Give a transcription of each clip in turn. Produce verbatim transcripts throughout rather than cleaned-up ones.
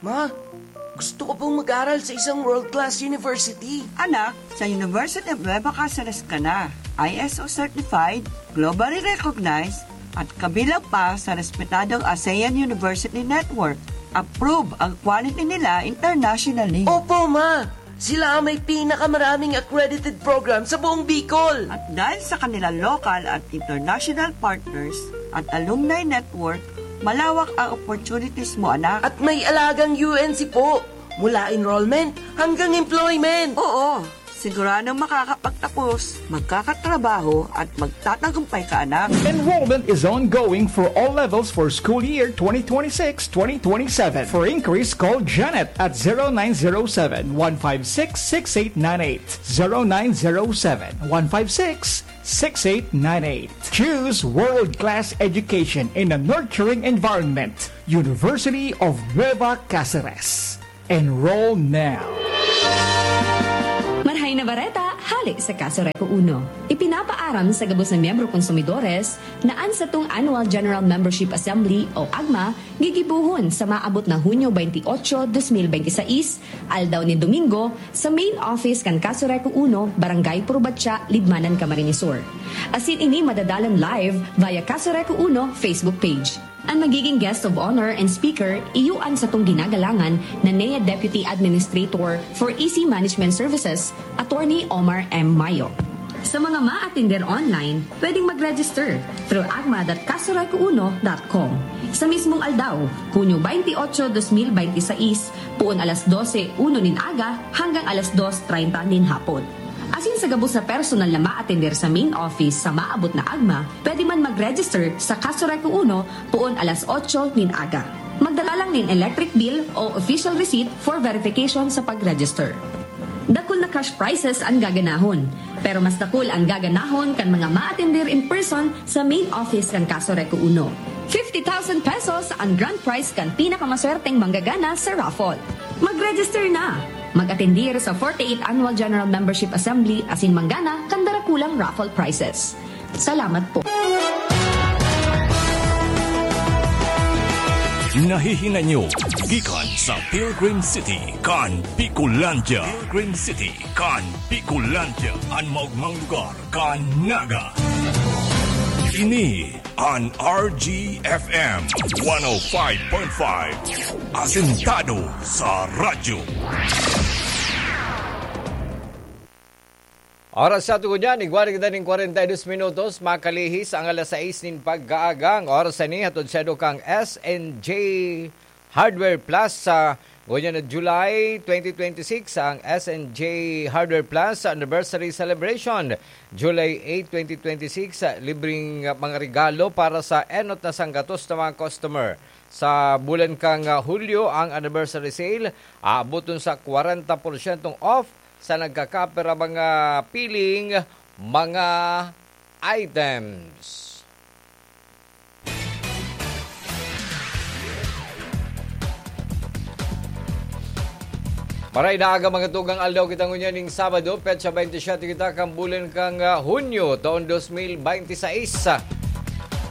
Ma, gusto ko pong mag-aral sa isang world-class university. Anak, sa University of Nueva Caceres ka na. I S O certified, globally recognized, at kabilang pa sa respetadong ASEAN University Network. Approve ang quality nila internationally. Opo, ma! Sila ang may pinakamaraming accredited program sa buong Bicol. At dahil sa kanilang local at international partners at alumni network, malawak ang opportunities mo, anak. At may alagang U N C po, mula enrollment hanggang employment. Oo, siguradong makakapagtapos, magkakatrabaho at magtatagumpay ka, anak. Enrollment is ongoing for all levels for school year twenty twenty-six twenty twenty-seven. For inquiries, call Janet at zero nine zero seven, one five six, six eight nine eight. Zero nine zero seven, one five six, six eight nine eight. Choose world-class education in a nurturing environment. University of Nueva Caceres. Enroll now. Marhay na bareta, hale sa Casoreco Uno. Ipinapaaram sa gabos na miyembro konsumidores na an satong Annual General Membership Assembly o AGMA gigibohon sa maabot na Hunyo twenty-eight, twenty twenty-six, aldaw nin Domingo, sa main office kan Casoreco Uno, Barangay Purbatya, Libmanan, Camarines Sur. Asin ini madadalan live via Casoreco Uno Facebook page. An magiging guest of honor and speaker, iyo an satong ginagalangan na N E A Deputy Administrator for E C Management Services, Attorney Omar M Mayo. Sa mga maatender online, pwedeng mag-register through agma dot casoreco uno dot com. Sa mismong aldaw, Hunyo twenty-eight, twenty twenty-six, poon alas dose uno nin aga hanggang alas dos treinta nin hapon. Asin sa gabos na personal na maatender sa main office sa maabot na agma, pwede man mag-register sa Casoreco Uno poon alas otso nin aga. Magdala lang nin electric bill o official receipt for verification sa pag-register. Dakul na cash prizes an gaganahon, pero mas dakul an gaganahon kan mga maatender in person sa main office kan Casoreco Uno. Fifty thousand pesos an grand prize kan pinakamaswerteng manggagana sa raffle. Mag-register na! Mag-atendir sa forty-eighth Annual General Membership Assembly asin manggana kan darakulang raffle prizes. Salamat po. Nahihinanyo gikan sa Pilgrim City kan Bicolandia. Pilgrim City kan Bicolandia, an maogmang lugar kan Naga. Ini an R G F M one oh five point five, asentado sa radyo. Oras sa tugon yan, igwa na kita nin kwarenta y dos minutos, makalihis ang alas sais nin pagkaaga. Ang oras na ini, hatod sa edo kang S N J Hardware Plus sa ngunyan na July twenty twenty-six, ang S N J Hardware Plus Anniversary Celebration. July eight, twenty twenty-six, libreng mga regalo para sa enot na sanggatos na mga customer. Sa bulan kang, ah, Hulyo, ang anniversary sale, aaboton sa kwarenta porsyentong off sa nagkakapira mga piling mga items. Maray na aga, mga tugang, aldaw kita ngunyan ning Sabado, petsa twenty-seven kita kan bulan kang, ah, Hunyo, taon dos mil bente seis.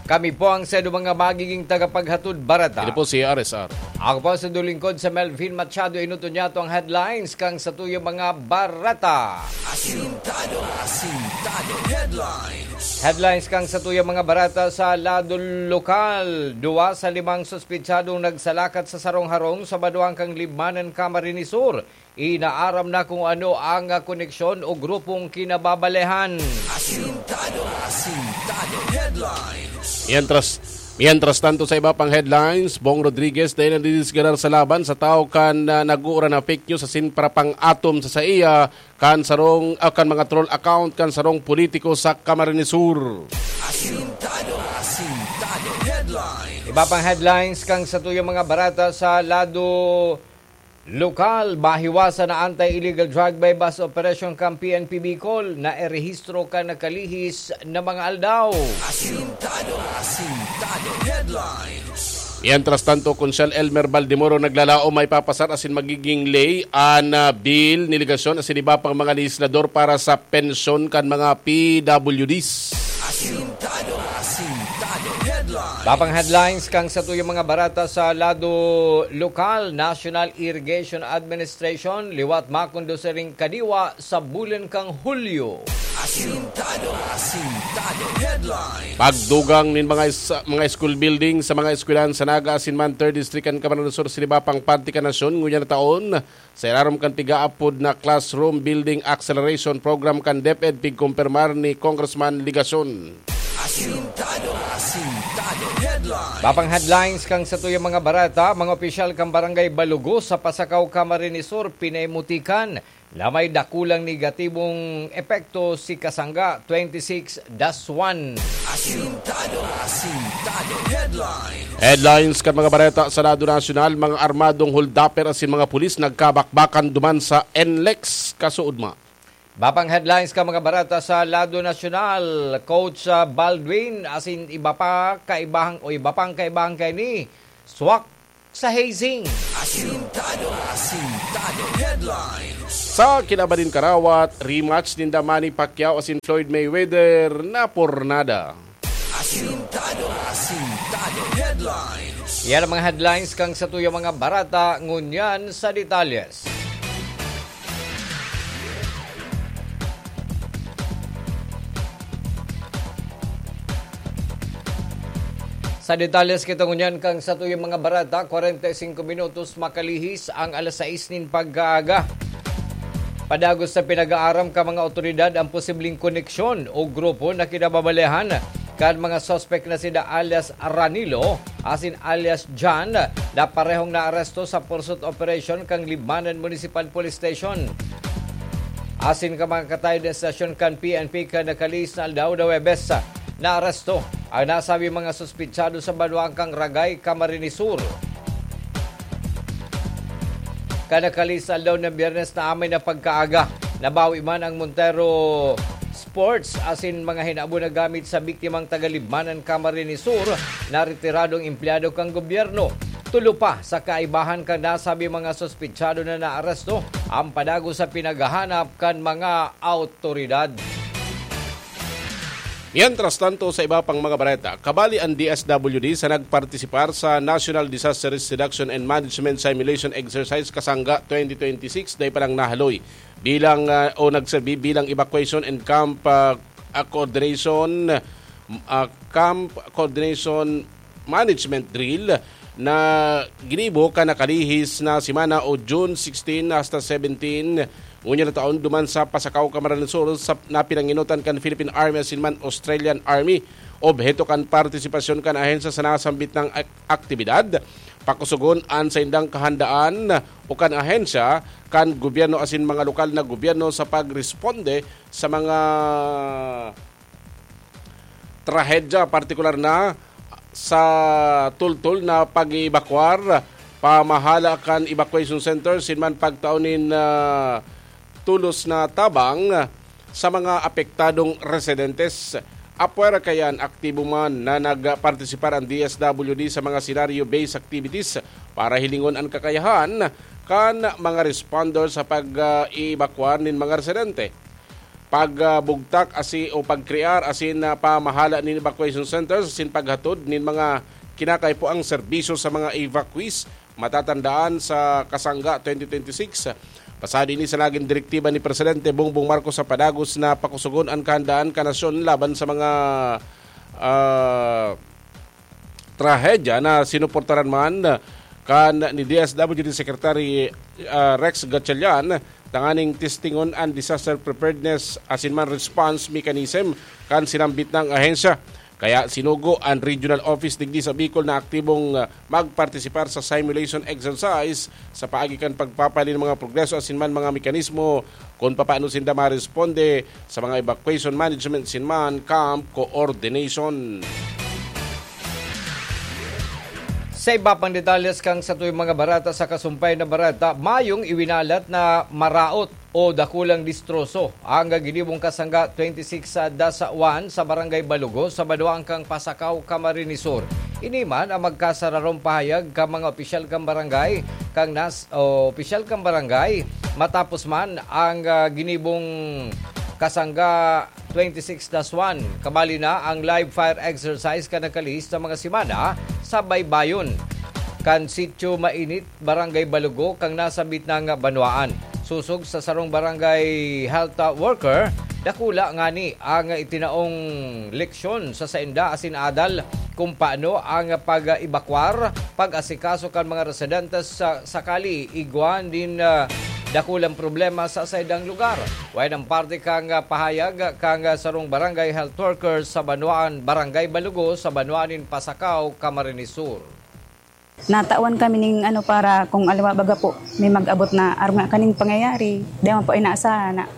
Kami po ang saindo mga magiging tagapaghatod bareta. Ini po si R S R. Ako po sa lingkod, si Melvin Machado. Enoton niyato ang headlines kan satuyang mga bareta. Asintado, asintado headlines. Headlines kan satuyang mga bareta sa lado lokal. Duwa sa limang suspetsadong nagsalakat sa sarong harong sa Badoang kan Libmanan, Camarines Sur. Inaaram na kung ano ang koneksyon o grupong kinababalehan. Asintado, asintado headlines. Mientras, mientras tanto, sa iba pang headlines, Bong Rodriguez dai nadidisgarar sa laban sa tawo kan, ah, nag-uura na fake news asin parapang-atom sa saiya kan sarong, ah, kan mga troll account kan sarong politiko sa Camarines Sur. Asintado, asintado headlines. Iba pang headlines kan satuyang mga bareta sa lado lokal. Mahiwasan na anti-illegal drug buy-bust operation kan P N P Bicol, nairehistro kan nakalihis na mga aldaw. Asintado, asintado headlines. Mientras tanto, Konsyal Elmer Baldemoro naglalaom maipapasar asin magiging ley an, ah, bill ni legasyon asin iba pang mga lehislador para sa pensyon kan mga P W Ds. Asintado, asintado headlines. Papang headlines kan satuyang mga bareta sa lado lokal. National Irrigation Administration liwat makondusiring kadiwa sa bulan kan Hulyo. Asintado, Asintado Headlines. Pagdugang nin mga is-, mga school building sa mga eskwelahan sa Naga asin man Third District kan Camarines Sur, sa iba pang parte kan nasyon, ngunyan na taon, sa irarom kan pigaapod na Classroom Building Acceleration Program kan DepEd, pigkumpirmar ni Congressman Legacion. Asintado, Asintado Headlines. Papang headlines kan satuyang mga bareta. Mga opisyal kan Barangay Balugo sa Pasacao, Camarines Sur, pinaimutikan na may dakulang negatibong epekto si Kasangga twenty-six dash one. Asintado, Asintado Headlines. Headlines kan mga bareta sa lado nasyonal. Mga armadong holdupper asin mga pulis nagkabakbakan duman sa NLEX, kasuodma. Iba pang headlines kan mga bareta sa lado nasyonal. Coach, ah, Baldwin asin iba pa kaibahang, o iba pang kaibahan kaini, swak sa hazing. Asintado, Asintado Headlines. Sa kinaban nin karawat, rematch ninda Manny Pacquiao asin Floyd Mayweather napurnada. Asintado, Asintado Headlines. Yan ang mga headlines kan satuyang mga bareta ngunyan. Sa detalyes. Sa detalyes kita ngunyan kan satuyang mga bareta, kwarenta y singko minutos makalihis ang alas sais nin pagkaaga. Padagos na pinag-aaram kan mga awtoridad ang posibleng koneksyon o grupo na kinababalehan kan mga suspek na sina alias Ranilo asin alias John, na parehong naaresto sa pursuit operation kan Libmanan Municipal Police Station asin kan mga katayon na estasyon kan P N P kan nakalihis na aldaw na Huwebes. Naaresto ang nasabing mga suspetsado sa banwaan kan Ragay, Camarines Sur. Kan nakalihis na aldaw na Biyernes na amay na pagkaaga, nabawi man ang Montero Sports asin mga hinabo na gamit sa biktimang taga Libmanan, Camarines Sur, na retiradong empleyado kan gobyerno. Tulo pa sa kaibahan kan nasabing mga suspetsado na naaresto ang padagos sa pinaghahanap kan mga awtoridad. Mientras tanto, sa iba pang mga bareta, kabali an D S W D sa nagpartisipar sa National Disaster Risk Reduction and Management Simulation Exercise Kasangga twenty twenty-six, dai pa lang nahaloy bilang, ah, o nagserbi bilang evacuation and camp, ah, ah, coordination, ah, camp coordination management drill na ginibo kan nakalihis na semana o June sixteen hasta seventeen, ngunyan na taon, duman sa Pasacao, Camarines Sur, sa, na pinangenotan kan Philippine Army asin man Australian Army. Obheto kan partisipasyon kan ahensya sa nasambit na ak-, aktibidad, pakusugon an saindang kahandaan o kan ahensya kan gobyerno asin mga lokal na gobyerno sa pagresponde sa mga trahedya, partikular na sa tultol na pag-eebakwar, pamahala kan evacuation center, asin man pagtao nin, ah, tulos na tabang sa mga apektadong residentes. Apwera kaiyan, aktibo man na nagpartisipar an D S W D sa mga scenario-based activities para hilingon an kakayahan kan mga responder sa pag, ah, eebakwar nin mga residente. Pagbugtak asi o pagkrear asin, ah, pamahala nin evacuation centers asin paghatod nin mga kinakaipuang serbisyo sa mga evacuees. Matatandaan, sa Kasangga twenty twenty-six, pasado ini sa nagin direktiba ni Presidente Bongbong Marcos sa padagos na pakusugon an kahandaan kan nasyon laban sa mga, ah, trahedya na sinuportaran man kan ni D S W D Secretary, ah, Rex Gatchalian, tanganing testingon an disaster preparedness asin man response mechanism kan sinambit nang ahensya. Kaya sinugo an regional office digdi sa Bicol na aktibong, ah, magpartisipar sa simulation exercise sa paagi kan pagpapahalin mga progreso asin man mga mekanismo kun papaano sinda maresponde sa mga evacuation management asin man camp coordination. Sa iba pang detalles kan satuyang mga bareta, sa kasumpay na bareta, mayong iwinalat na maraot o dakulang distroso ang ginibong Kasangga twenty-six dash one sa Barangay Balugo, sa banwaan kan Pasacao, Camarines Sur. Ini man ang magkasararong pahayag kan mga opisyal kan barangay, kan nas-, o opisyal kan barangay, matapos man ang, ah, ginibong Kasangga twenty-six dash one. Kabali na ang live fire exercise kan nakalihis na mga semana sa Baybayon. Kan Sitio Mainit, Barangay Balugo, kan nasambit na nga banwaan. Sosog sa sarong barangay health, ah, worker, dakula ngani ang itinaong leksyon sa sainda asin adal kung paano ang pag-ebakwar, pag-asikaso kan mga residentes sa sakali igwa nin, ah, dakulang problema sa saindang lugar. Wayan ang parte kan, ah, pahayag kan, ah, sarong barangay health worker sa banwaan, Barangay Balugo, sa banwaan nin Pasacao, Camarines Sur. Natawan kami ning ano, para kung aliwa baga po, may mag-abot na arog na kaning pangyayari. Di man po inaasahan na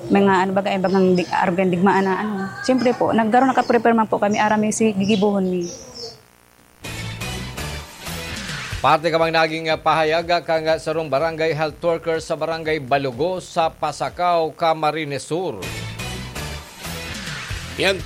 mga ano baga, eh, bagang di-, arog ang digmaan na ano. Siyempre po, nagkaroon, nakaprepare man po kami, aram mi si gigibohon mi. Parte ka mang naging, ah, pahayag, ah, kan, ah, sarong barangay health worker sa Barangay Balugo sa Pasacao, Camarines Sur. Yan.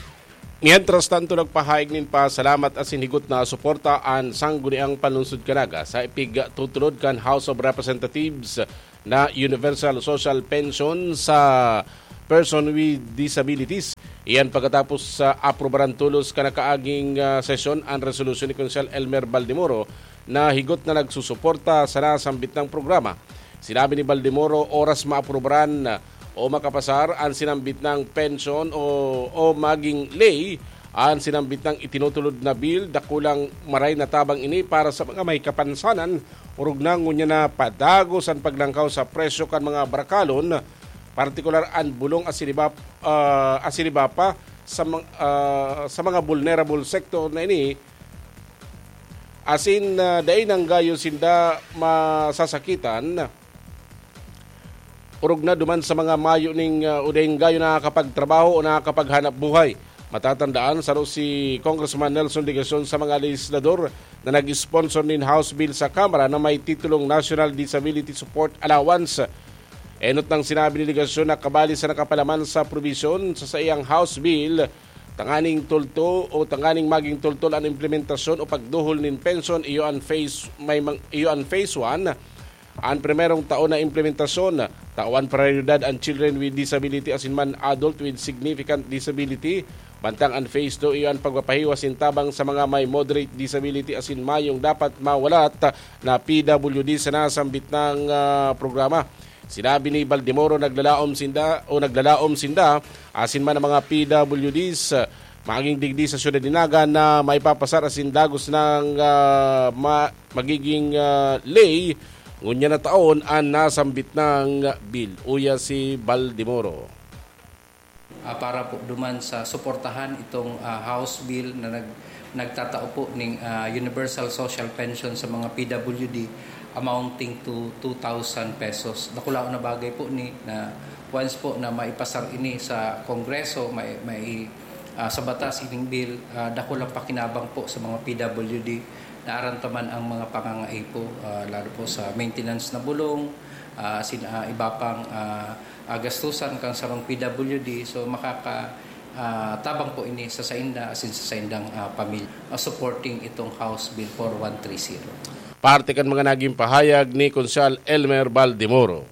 Mientras tanto, nagpahayag nin pasalamat asin higot na suporta an Sangguniang Panlungsod kan Naga sa ipigtutulod kan House of Representatives na Universal Social Pension sa person with disabilities. Iyan pagkatapos sa aprubaran tolos kan nakaaging, ah, sesyon an resolusyon ni Konsehal Elmer Baldemoro na higot na nagsusuporta sa nasambit na programa. Sinabi ni Baldemoro, oras maaprubaran o makapasar an sinambit na pensyon o, o maging ley an sinambit na itinutulod na bill, dakulang maray na tabang ini para sa mga may kapansanan, orog na ngunyan na padagos an paglangkaw sa presyo kan mga barakalon, partikular an bulong asin iba, ah, asin iba pa sa mga, ah, sa mga vulnerable sector na ini, asin, ah, dai nang gayo sinda masasakitan, orog na duman sa mga mayo ning, ah, o dai gayo nakakapagtrabaho o nakakapaghanap buhay. Matatandaan, saro si Congressman Nelson Legacion sa mga legislador na nag-sponsor nin House Bill sa Kamara na may titulong National Disability Support Allowance. Enot nang sinabi ni Legacion na kabali sa nakapalaman sa probisyon sa saiyang House Bill, tanganing tulto o tanganing maging tultol an implementasyon o pagduhol nin pensyon, iyo an phase, may mang-, iyo an phase one, an primerong taon na implementasyon. Tawan prioridad an children with disability asin man adult with significant disability. Mantang an phase two, iyo an pagpapahiwas nin tabang sa mga may moderate disability asin mayong dapat mawalat na P W D sa nasambit na, ah, programa. Sinabi ni Baldemoro, naglalaom sinda o naglalaom sinda asin man ang mga P W Ds, ah, maging digdi sa siyudad ni Naga na maipapasar asin dagos nang, ah, ma-, magiging, ah, ley ngunyan na taon an nasambit na bill. Uya si Baldemoro. Ah, para po duman sa suportahan itong, ah, House Bill na nag-, nagtatao po ning, ah, universal social pension sa mga P W D amounting to two thousand pesos. Dakulaon na bagay po ni na once po na maipasar ini sa Kongreso, may, may, ah, sa batas ining bill, ah, dakulang pakinabang po sa mga P W D na arantaman ang mga pangangaipo, ah, lalo po sa maintenance na bulong, ah, sin-, ah, iba pang, ah, ah, gastusan kan sarong P W D. So, makaka-, ah, tabang po ini sa sainda asin sa saindang, ah, pamilya, ah, supporting itong House Bill four one three zero. Parte kan mga naging pahayag ni Konsehal Elmer Baldemoro.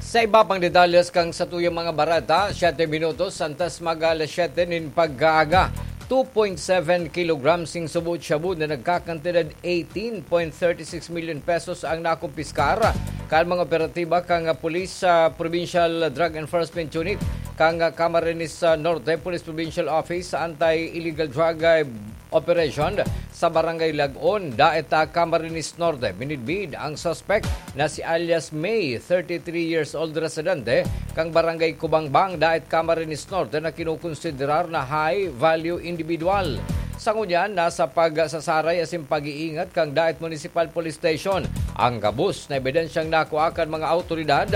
Sa iba pang detalles kan satuyang mga bareta, siyete minutos antes mag alas siyete nin pag-aaga. Two point seven kilograms nin subo shabu na nagkakantidad eighteen point thirty six million pesos ang nakumpiskar kan mga operatiba kan Police sa Provincial Drug Enforcement Unit kan Camarines Norte Police Provincial Office Anti-Illegal Drug, eh, Operation sa Barangay Lagon, Daet, ah, Camarines Norte. Minidbid ang suspek na si alias May, thirty-three years old, residente kan Barangay Kubangbang, Daet, Camarines Norte, na kinukonsiderar na high value individual. Sa ngunyan, nasa pagsasaray asin pag-iingat kan Daet Municipal Police Station ang gabos na ebidensyang nakua kan mga awtoridad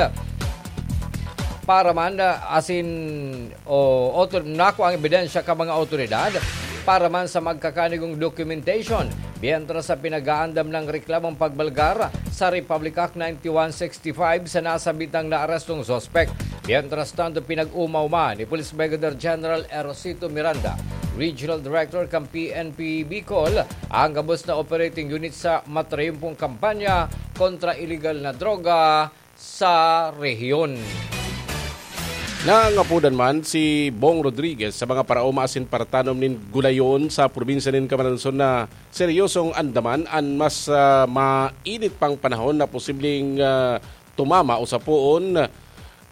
para man, ah, asin o otor-, nakua ang ebidensya kan mga awtoridad para man sa magkakanigong documentation, mientras sa pinag-aandam na reklamong pagbalgar sa Republic Act ninety-one sixty-five sa nasambit na naarestong suspek. Mientras tanto, pinag-umaw man ni Police Brigadier General Erosito Miranda, Regional Director kan P N P Bicol, ang gabos na operating unit sa matrayumpong kampanya kontra iligal na droga sa rehiyon. Nangapodan man si Bong Rodriguez sa mga paraoma asin paratanom nin gulayon sa probinsya nin Camarines Sur na seryosong andaman an mas, ah, mainit pang panahon na posibleng, ah, tumama o sapoon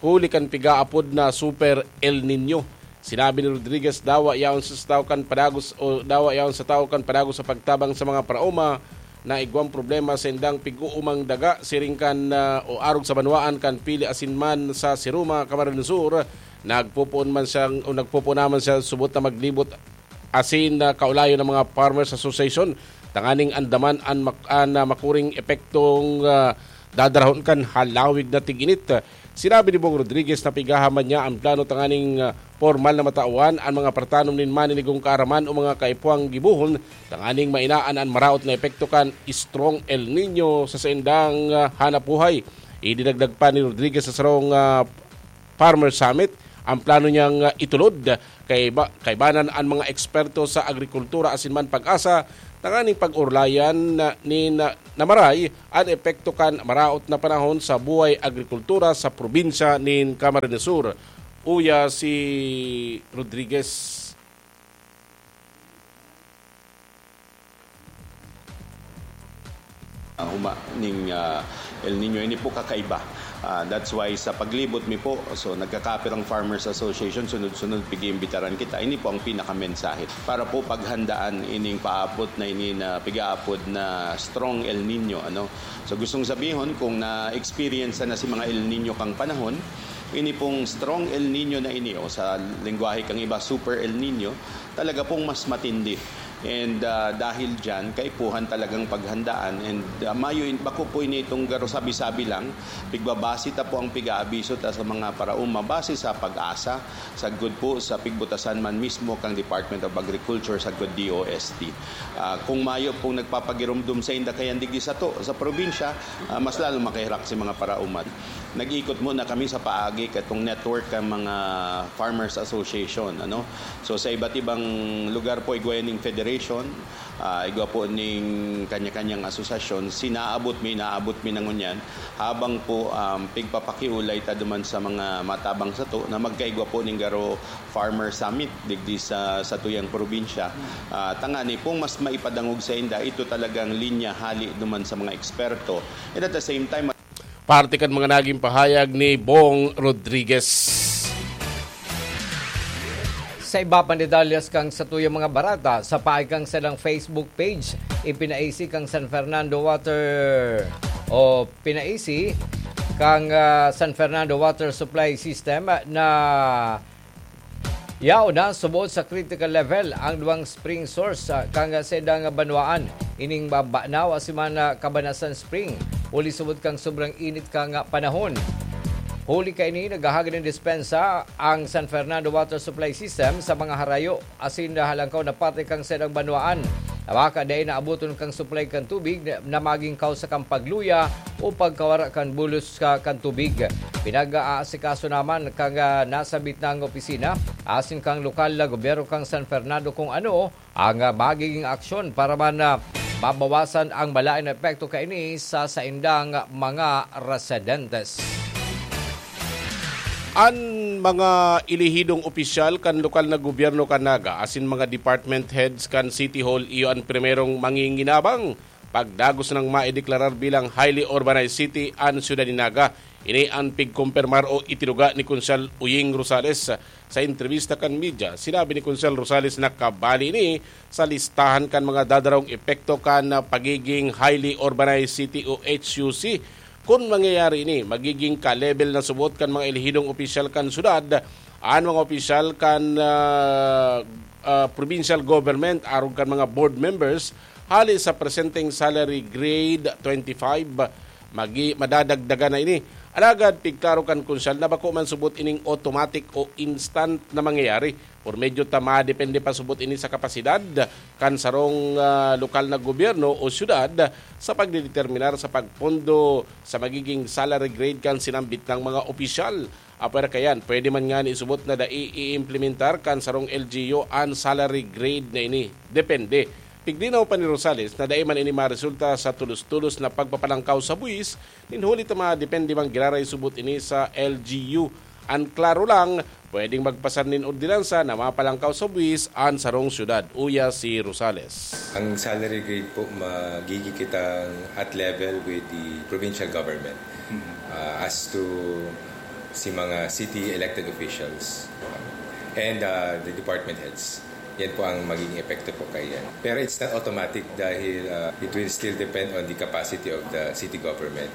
huli kan pigaapod na Super El Niño. Sinabi ni Rodriguez, dawa yaon sa tawo kan padagos o dawa yaon sa tawo kan padagos sa pagtabang sa mga paraoma na igwang problema sa indang pig-uumang daga siring kan, ah, o arog sa banwaan kan Pili asin man sa Siruma, Camarines Sur. Nagpopoon man siyang, o nagpopoon naman siya subot na maglibot asin, ah, kaulayon ng mga Farmers Association tanganing andaman an mak-, an, ah, makuring epektong, ah, dadarahon kan halawig na tig-init. Sinabi ni Bong Rodriguez na pigahaman niya ang plano tanganing, ah, pormal na matawan an mga paratanom nin maninigong kaaraman o mga kaipuhang gibohon tanganing mainaan an maraot na epekto kan strong El Niño sa saindang, ah, hanap buhay. Idinagdag pa ni Rodriguez sa sarong, ah, Farmer Summit ang plano niyang, ah, itulod. Kaiba-, kaibanan an mga eksperto sa agrikultura asin man PAGASA tanganing pag-orlayan na, nin, ah, na maray an epekto kan maraot na panahon sa buhay agrikultura sa probinsya nin Camarines Sur. Uya si Rodriguez. Ah, huma ning, ah, El Niño, ini po kakaiba. Ah, that's why sa paglibot mi po, so nagkakapirang Farmers Association, sunod-sunod pig-iimbitaran kita. Ini po ang pinakamensahe para po paghandaan ining paapot na ini na pigaapod na strong El Niño, ano. So gustong sabihon, kung na-experience na si mga El Niño kang panahon, ini pong strong El Niño na ini, o sa lengguwahe kang iba, super El Niño, talaga pong mas matindi. And, ah, dahil dyan, kaipuhan talagang paghandaan. And, ah, mayo in, bako po ini itong garo sabi-sabi lang, pigbabase ta po ang pig-aabiso ta sa mga paraoma base sa PAGASA, sagkod po sa pigbutasan man mismo kang Department of Agriculture, sagkod D O S T. Ah, kung mayo pong nagpapagirumdom sa inda kayan digdi sato, sa probinsya, ah, mas lalo makahirak si mga paraoma. Nag-ikot muna kami sa paagi katong network kan mga Farmers Association, ano? So, sa iba't ibang lugar po, igwa ning federation, ah, igwa po ning kanya-kanyang asosasyon, sinaabot mi, inaabot mi na ngunyan, habang po, um, pigpapakiulay ta duman sa mga matabang sato na magkaigwa po ning garo Farmer Summit digdi sa, sa tuyang probinsya. Ah, tangani pong mas maipadangog sa inda, ito talagang linya hali duman sa mga eksperto. And at the same time, Parte kan mga naging pahayag ni Bong Rodriguez. Sa iba pang detalyes kan satuyang mga barata, sa paagi kan saindang Facebook page, ipinaisi kan San Fernando Water o pinaisi kan, ah, San Fernando Water Supply System na yaon na subod sa critical level ang duwang spring source, ah, kan saindang banwaan. Ining Banaw asin man, ah, Cabanasan Spring, huli subod kan sobrang init kan panahon. Huli kaini, naghahagad nin dispensa ang San Fernando Water Supply System sa mga harayo asin halangkaw na parte kan saindang banwaan. Baka dai naaboton kan supply kan tubig na, na magin kausa kan pagluya o pagkawara kan bulos ka, kan tubig. Pinag-aasikaso naman kan, ah, nasambit na opisina asin kan lokal na gobyerno kan San Fernando kung ano ang, ah, magiging aksyon para man, ah, mabawasan ang malaen na epekto kaini sa saindang mga residentes. An mga elehidong opisyal kan lokal na gobyerno kan Naga asin mga department heads kan City Hall iyo an primerong manginginabang pagdagos nang maideklarar bilang highly urbanized city an siyudad nin Naga. Ini an pigkumpirmar o itinuga ni Konsehal Uying Rosales. Sa entrebista kan media, sinabi ni Konsehal Rosales na kabali ini sa listahan kan mga dadarong epekto kan pagiging highly urbanized city o H U C. Kun mangyayari ini, magiging ka-level na subot kan mga elehidong opisyal kan syudad, an mga opisyal kan, ah, ah, provincial government, arog kan mga board members, hali sa presenteng salary grade twenty-five, magi-, madadagdagan na ini. Alagad pigklaro kan Konsehal na bako man subot ining automatic o instant na mangyayari. Por medyo ta madepende pa subot ini sa kapasidad kan sarong, ah, lokal na gobyerno o syudad sa pagdedeterminar sa pagpondo sa magiging salary grade kan sinambit nang mga opisyal. Apwera kayan, pwede man ngani isubot na dai i-implementar kan sarong L G U an salary grade na ini. Depende. Piglinaw pa ni Rosales na dai man ini maresulta sa tulos-tulos na pagpapalangkaw sa buwis, nin huli ta madepende man giraray subot ini sa L G U An klaro lang, pwedeng magpasar nin ordinansa na mapalangkaw sa buwis an sarong syudad, uya si Rosales. Ang salary grade po, magiging kitang at level with the provincial government. Mhm. Uh, as to si mga city elected officials, uh, and, uh, the department heads. Yan po ang magiging epekto po kaiyan. Pero it's not automatic dahil, uh, it will still depend on the capacity of the city government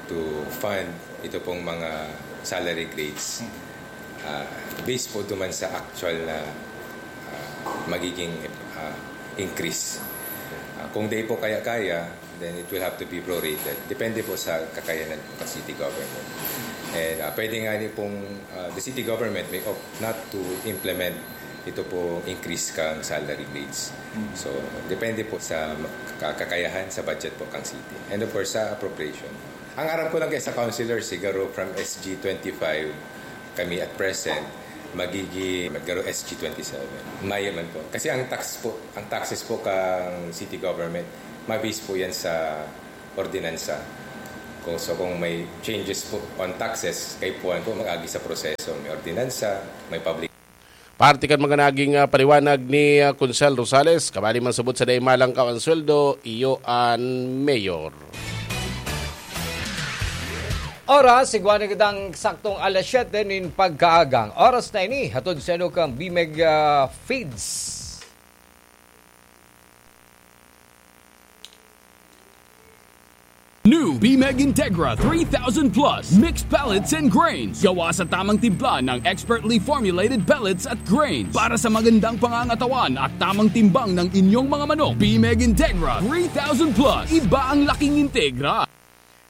to fund ito pong mga salary grades. Hmm. Uh, based po duman sa actual na, uh, magiging, uh, increase. Uh, kung di po kaya-kaya, then it will have to be prorated. Depende po sa kakayanan ng city government. And, uh, pwede nga ni pong, uh, the city government may opt not to implement ito pong increase kang salary grades. Mm. So, depende po sa ka-, kakayahan sa budget po kang city. And of course, sa appropriation. Ang aram ko lang kay sa councilor, siguro from S G twenty-five, kami at present, magiging, magkaroon S G twenty-seven. Mayo man po. Kasi ang tax po, ang taxes po kang city government, ma-base po yan sa ordinansa. Kung, so kung may changes po on taxes, kaipuhan po mag-agi sa proseso. May ordinansa, may public. Parte kan mga naging, ah, paliwanag ni, ah, Konsel Rosales, kabali man subot sa dai malangkaw ang sweldo, iyo an mayor. Oras, igwa na kitang eksaktong alas siyete nin pagkaagang. Oras na ini, hatod sa inyo kang Bimeg, ah, Feeds. New Bimeg Integra three thousand Plus Mixed Pellets and Grains. Gawa sa tamang timpla ng expertly formulated pellets at grains. Para sa magandang pangangatawan at tamang timbang ng inyong mga manok, Bimeg Integra three thousand Plus. Iba ang laking Integra.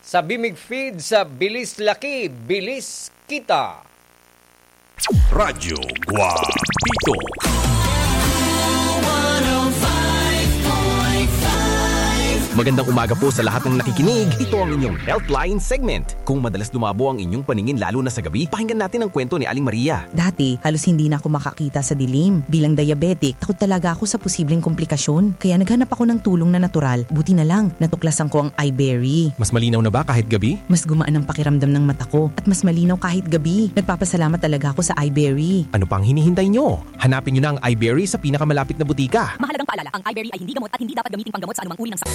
Sa Bimeg Feeds, sa bilis laki, bilis kita. Radyo Guapito. Magandang umaga po sa lahat ng nakikinig. Ito ang inyong Healthline segment. Kung madalas lumabo ang inyong paningin lalo na sa gabi, pakinggan natin ang kwento ni Aling Maria. Dati, halos hindi na ako makakita sa dilim. Bilang diabetic, takot talaga ako sa posibleng komplikasyon. Kaya naghanap ako ng tulong na natural. Buti na lang, natuklasan ko ang iBerry. Mas malinaw na ba kahit gabi? Mas gumaan ang pakiramdam ng mata ko at mas malinaw kahit gabi. Nagpapasalamat talaga ako sa iBerry. Ano pang hinihintay nyo? Hanapin nyo na ang iBerry sa pinakamalapit na butika. Mahalagang paalala, ang iBerry ay hindi gamot at hindi dapat gamiting panggamot sa anumang uri ng sakit.